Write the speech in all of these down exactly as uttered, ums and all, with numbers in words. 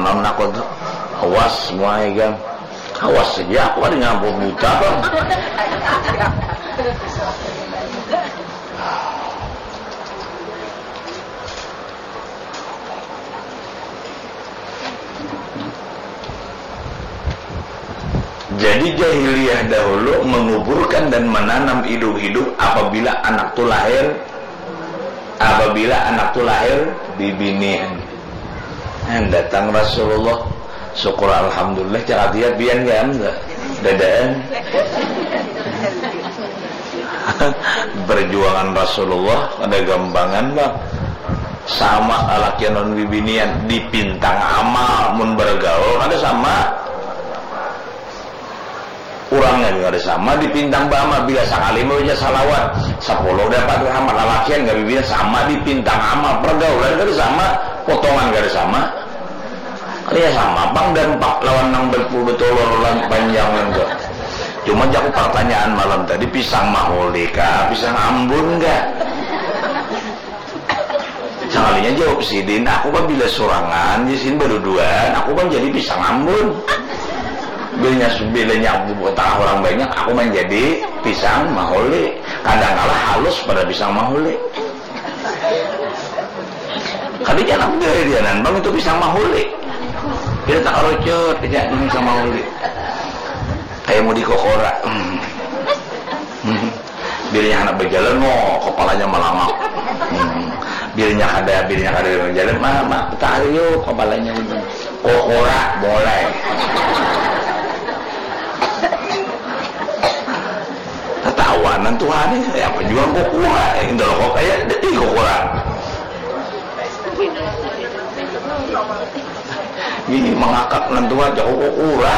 Anak kau tu, awas semua ikam. Awas saja, aku ada ngampu buta kau. Jadi jahiliyah dahulu menguburkan dan menanam hidup-hidup apabila anak tu lahir, apabila anak tu lahir bibinian. Nah, datang Rasulullah, syukur alhamdulillah, cakap dia pian kan, dadaan. Perjuangan Rasulullah kada gampangan bang. Sama kalakian lawan bibinian, dipintang amal mun bergaul kada sama. Urangnya kada sama, dipintang baamal. Bila sakali membaca salawat, sapuluh dapat rahmat. Lalakian kada bibinian sama, dipintang amal. Pergaulan kada sama, potongan kada sama. Kalinya sama pang dampak lawan nang berpuluh betulur lan panjangan tu. Cuma jaku pertanyaan malam tadi, pisang mahuli kah, pisang ambun kah? Sakalinya jawab sidin, aku kan bila surangan, di sini baduduan, aku kan jadi pisang ambun. Bilanya bilanya aku tengah orang banyak, aku menjadi pisang mahuli. Kadang kala halus pada pisang mahuli. Kada jangan aku dari dianan bang itu pisang mahuli. Kita tak kerucut aja ini pisang mahuli. Kayak mau dikokora. Hmm. Hmm. Bilanya anak berjalan, no, kepalanya melangak. Hmm. Bilanya kada, bilanya kada berjalan, mama, tarik yuk kepalanya itu. Kokora, mulai. Tatawanan Tuhan ini, apa juga kokora, ini loh kok kayak detik kokora. Ini mengakak nantuan, jauh kokora.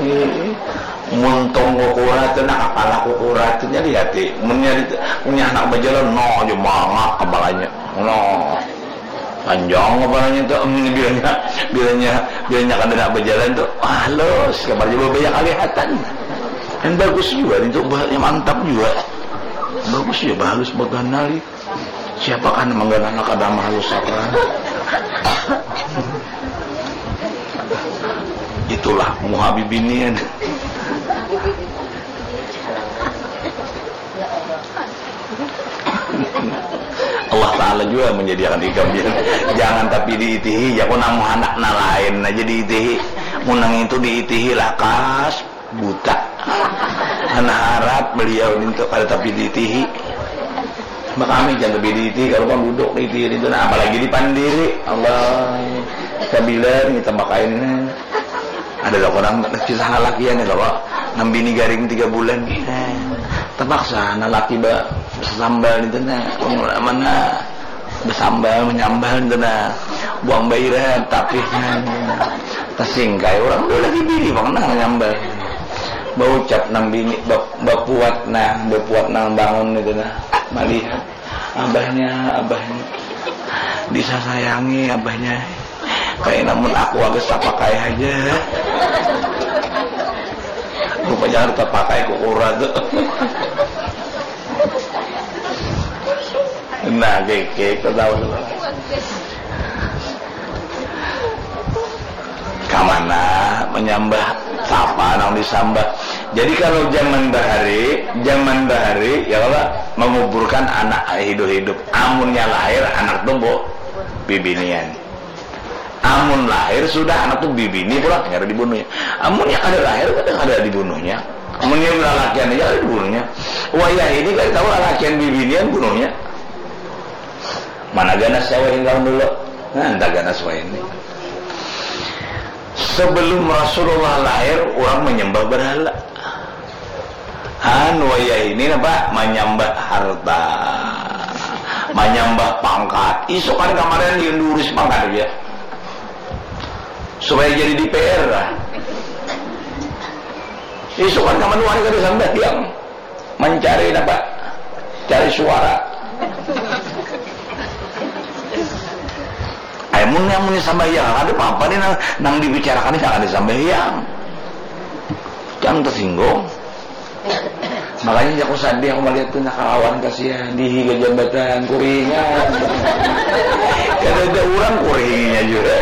Ini. Muntung kukura tu nah, kepala kukura tu nya lihati. Munnya di, munnya anak bajalan, no, aja mangak kepalanya. No. Panjang kepalanya tu, em, bilanya, bilanya, bilanya kada nak bajalan tu, halus, kamarnya babaya kalihatan. Dan bagus juga itu, bahannya mantap juga. Bagus juga, bahalus, baganal. Siapa kan mangganal kada mahalus apa? Itulah muha bibinian. Allah Ta'ala juga menyediakan ikam, ya. Jangan tapi diitihi, ya, ku nang handak nang lain aja diitihi. Munang itu diitihi lakas buta. Anak harap beliau nintu kada tapi diitihi. Makami jangan tapi diitihi, kalau kan duduk diitihi itu, nah, apalagi dipandiri. Allah, sabila kita makain. Ada lah orang kisah lalakian itu kok, nang bini garing tiga bulan. Eh, terpaksa anak laki ba sambal itu nah, mana bersambal menyambal itu nah, buang bairan tapi nah, tersingkai orang tu lagi bini bang nah menyambal. Baucap nang bini bap- bapuat nah, bapuat nang bangun itu nah, malihat abahnya, abahnya disasayangi abahnya. Kayak namun aku agak tapakai aja. Rupanya harus tapakai kukura tu. Nah, keke, kau tahu tu. Kamana menyambah? Siapa nang disambah? Jadi kalau zaman bahari, zaman bahari, ya Allah, menguburkan anak hidup-hidup. Amunnya lahir anak tu, bu, bibinian. Amun lahir sudah anak tu bibini pulang, kada dibunuhnya. Amunnya kada lahir, kada, kada dibunuhnya. Amunnya lalakian aja kada dibunuhnya. Wayah ini kada tahu lalakian bibinian bunuhnya. Mana ganas Jawa ini tahun dulu? Nah, entah ganas wayah ini. Sebelum Rasulullah lahir, orang menyembah berhala. Anu, wayah ini napa? Manyambah harta, manyambah pangkat. Isukan kamarin diunduri sapangkat aja. Supaya jadi D P R lah. Isukan kamarin kada sambahyang. Mancari napa? Cari suara. Ai mun, mun sambahyang, kada apa-apa nih nang, nang dibicarakan ini kada sambahyang. Jangan tersinggung. Makanya aku sadih, aku melihat tu nah kawan kasihan, dihiga jambatan, kuringan. Kada ada orang kuringinya juga.